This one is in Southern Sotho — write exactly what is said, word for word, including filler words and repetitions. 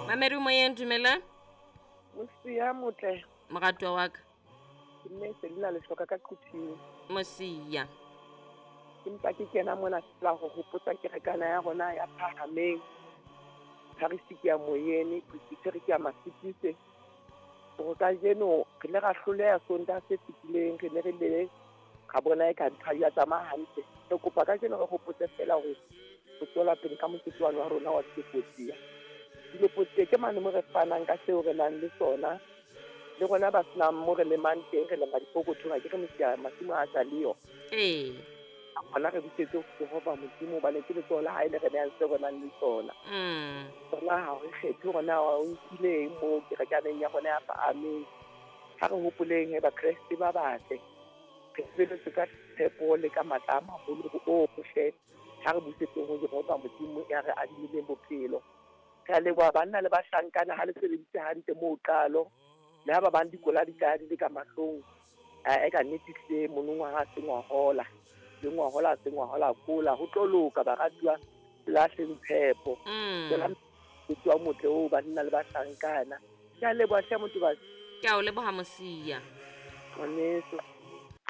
Mamedi moyeng, dumela. Mosia motle. Moratuwa wa ka. Ke mme Selina Lehloka ka Quthing. Mosia. Empa ke kena mona fela ho hopotsa kerekana ya rona ya Phahameng. Parish ke ya Moyene, Presbytery ke ya Masipise. Hore kajeno re ile ra hloleha Sontaha se fetileng, re ne re le ra bona eka ntho ha di a tsamaya hantle. Re kopa kajeno re hopotse fela hore re tswela pele ka mokete wane wa rona wa Dilopotsiya. Dilopotsiya ke mane mo re fanang ka seo re nang le sona. Le rona ba senang mo re lemang teng, re lema dipokothong, ha ke re mosia masimo a sa leyo. Ee. Hona re busetse ho Jehova Modimo hobane ke letsoho la hae le re nehang seo re nang le sona. Mm. Tsona ha re kgethe hore na o nkile eng moo kerekaneng ya rona ya Phahameng. Ha re hopoleng he Bakreste ba batle. Re sebeletse ka tshepo le ka matla a maholo ohle. Ha re busetseng ho Jehova Modimo ya re adimileng bophelo. Re a leboha banna le bahlankana ha le sebeditse hantle moo qalo. Le ha ba bang dikola di tla di le ka mahlong. Eh, ka nnete hle monongwaha ha se ngwahola. Le ngwahola ha se ngwahola kola. Ho tlo loka baratuwa, lahleng tshepo. Mm. Tswela mosebetsi wa motle oo banna le bahlankana. Ke a leboha hle motho ba. Ke a o leboha Mosia. Ngwaneso.